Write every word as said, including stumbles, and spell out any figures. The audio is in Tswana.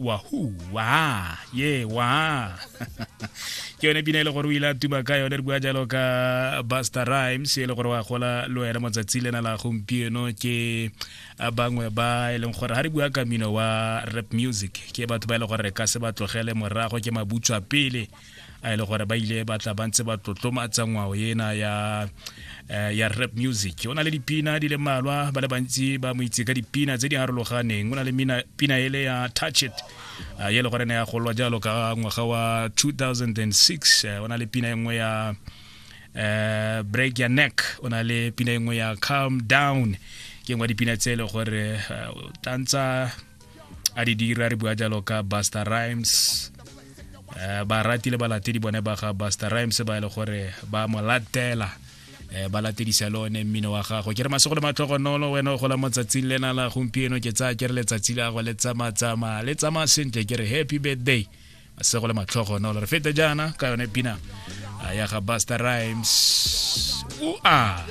Wahoo wa ye wa. Ke yone pina e le gore o ile a tuma ka yone. Re bua jalo ka Busta Rhymes, e le gore wa gola le wena motsatsi lena la gompieno. Ke bangwe ba e leng gore ga re bua ka mmino wa rap music, ke batho ba e le gore re ka se ba tlogele morago, ke mabutswa pele a e le gore ba ile ba tla ba ntse ba tlotlomatsa ngwao ena ya eh, ya rap music. O na le dipina di le mmalwa, ba le bantsi ba mo itse ka dipina tse di harologaneng. O na le mina, pina ele ya "Touch It", uh, ye le gore ne ya golwa jalo ka ngwaga wa two thousand six. uh, o na le pina e nngwe ya uh, "Break Your Neck", o na le pina e nngwe ya "Calm Down". Ke nngwe ya dipina tse e le gore uh, tantsa a di dira. Re bua jalo ka Busta Rhymes. uh, barati le balatedi bone ba ga Busta Rhymes ba e le gore ba mo latela, eh, ba latedisa le one mmino wa gago. Ke re masego le matlhogonolo wena o gola motsatsing lena la gompieno. Ke tsaya ke re letsatsi la go le tsamatsamaya, le tsamaya sentle. Ke re happy birthday, masego le matlhogonolo. Re fete jaana ka yone pina ya ga Busta Rhymes, ua.